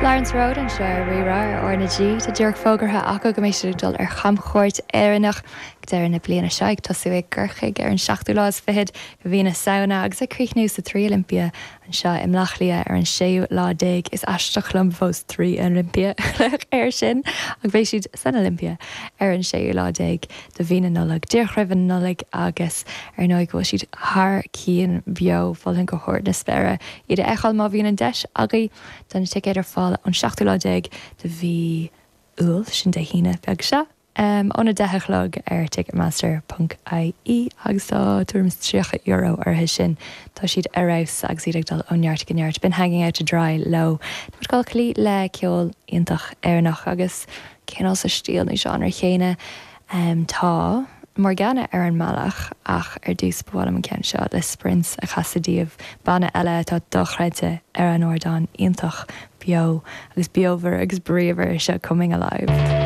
Florence Road anseo ar Rí-Rá ar R na G. Tá díreach fógartha acu go mbeidh siad ag dul ar chamchuairt Éireannach ag deireadh na bliana seo, ag tosú i gCorcaigh ar an seachtú lá is fichead de mhí na Samhna agus ag críochnú sa Trí Olympia anseo i mBleá Cliath ar an séú lá déag. Is aisteach liom fós Trí Olympia a ghlaoch air sin ach beidh siad san Olympia ar an séú lá déag de mhí na Nollag, díreach roimh an Nollaig agus ar ndóigh go bhfuil siad thar cionn beo, mholfainn go hard na spéire iad a fheiceáil má bhíonn an deis agaibh. Tá na ticéid ar fáil ón seachtú lá déag de mhí Iúil, sin Dé hAoine beag seo, óna 10 a chlog ar ticketmaster ponc ie agus tá tuairim is €30 orthu sin. Tá siad ar fheabhas agus iad ag dul ó neart go neart. B'in Hanging Out to Dry leo. Tá muid ag dul cloí le ceol iontach Éireannach agus cineál sa stíl nó genre chéanna. Tá Morgana ar an mbealach ach ar dtús ba mhaith liom an ceann seo le Sprints a chasadh daoibh, banna eile atá dochreidte ar an ardán, iontach beo agus beomhar agus bríomhar, seo Coming Alive.